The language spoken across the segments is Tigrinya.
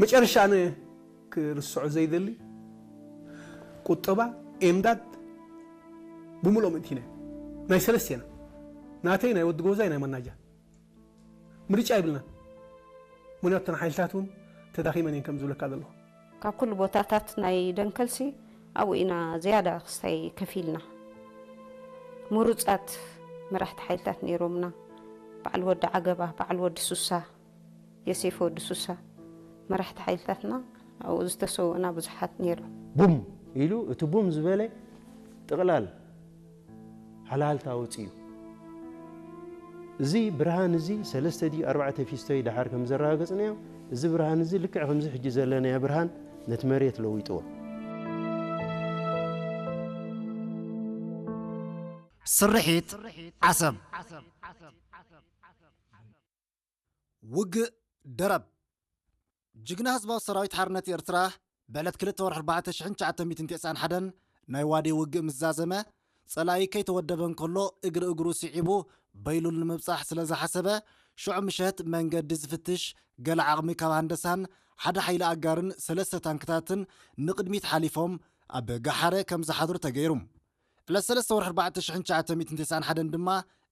መጨረሻ ኣነ ክርስዖ ዘይደሊ ቁጠባ ኤምዳድ ብምልኦ ምእቲና ናይ ሰለስቴና ናተይ ናይ ወዲ ጎዛይ ናይ መናጃ ምርጫ ይብልና። ምክንያቱ እተን ሓይልታት እውን ተዳኺመን እየን ከም ዝብለካ ዘለኹ። ካብ ኩሉ ቦታታት ናይ ደንከልሲ ኣብኡ ኢና ዝያዳ ክስታይ ከፊልና። ምሩፃት መራሕቲ ሓይልታት ነይሮምና። በዓል ወዲ ዓገባ፣ በዓል ወዲ ሱሳ፣ የሴፍ ወዲ ሱሳ መራሕቲ ሓይልታትና ኣብኡ ዝተሰውእና ብዙሓት ነይሮም። ቡም ኢሉ እቲ ቡም ዝበለ ጥቕላል ሃልሃልታ ወፂኡ። እዚ ብርሃን እዚ ሰለስተ ድዩ ኣርባዕተ ፊስቶ እዩ ደሓር ከም ዘረጋገፅናዮ፣ እዚ ብርሃን እዚ ልክዕ ከምዚ ሕጂ ዘለናዮ ብርሃን ነቲ መሬት ለዊጥዎ። ስርሒት ዓሰብ። ውግእ ደረብ። ጅግና ህዝባዊ ሰራዊት ሓርነት ኤርትራ ብዕለት ክልተ ወርሒ ኣርባዕተ ሽሕን ትሽዓተ ሚእትን ተስዓን ሓደን ናይ ዋዴ ውግእ ምስ ዛዘመ፣ ጸላኢ ከይተወደበ እንከሎ እግሪ እግሩ ስዒቡ በይሉል ንምብጻሕ ስለ ዝሓሰበ፣ ሽዑ ምሸት መንገዲ ዝፍትሽ ገለ ዓቕሚ ካብ ሃንደሳን ሓደ ሓይሊ ኣጋርን ሰለስተ ታንክታትን ንቕድሚት ሓሊፎም ኣብ ጋሓረ ከም ዝሓድሩ ተገይሩ። ዕለት ሰለስተ ወርሒ ኣርባዕተ ሽሕን ትሽዓተ ሚእትን ተስዓን ሓደን ድማ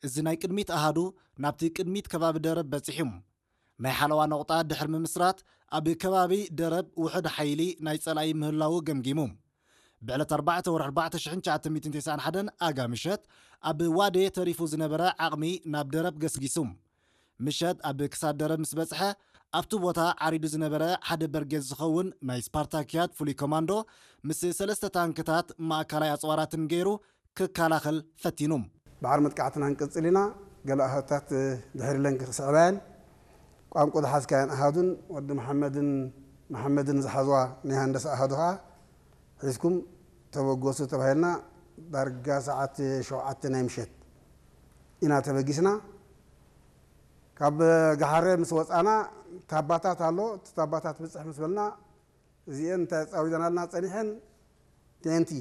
እዚ ናይ ቅድሚት ኣሃዱ ናብቲ ቅድሚት ከባቢ ደረብ በጺሑ። ናይ ሓለዋ ነቑጣ ድሕሪ ምምስራት ኣብ ከባቢ ደረብ ውሑድ ሓይሊ ናይ ጸላኢ ምህላዉ ገምጊሙ። ብዕለት ኣርባዕተ ወርሒ ኣርባዕተ ሽሕን ትሽዓተ ሚእትን ተስዓን ሓደን ኣጋ ምሸት ኣብ ዋዴ ተሪፉ ዝነበረ ዓቕሚ ናብ ደረብ ገስጊሱ። ምሸት ኣብ ክሳድ ደረብ ምስ በጽሐ ኣብቲ ቦታ ዓሪዱ ዝነበረ ሓደ በርጌድ ዝኸውን ናይ ስፓርታክያት ፍሉይ ኮማንዶ ምስ ሰለስተ ታንክታት ማእከላይ ኣጽዋራትን ገይሩ ክከላኸል ፈቲኑ። ባዕር መጥቃዕትና ክንቅጽል ኢና። ገለ ኣሃዱታት ድሕሪ ለንግ ክስዕባየን ቋንቁ ዝሓዝካየን ኣሃዱን ወዲ መሓመድን መሓመድን ዝሓዝዋ ናይ ሃንደሳ ኣሃዱ ኸዓ ሒዝኩም ተበገሱ ተባሂልና ዳርጋ ሰዓት ሸውዓተ ናይ ምሸት ኢና ተበጊስና። ካብ ጋሓረ ምስ ወፃና ታባታት ኣሎ። እቲ ታባታት ብፅሕ ምስ በልና እዚአን እንታይ ኣፃዊደናልና ፀኒሐን ቴንቲ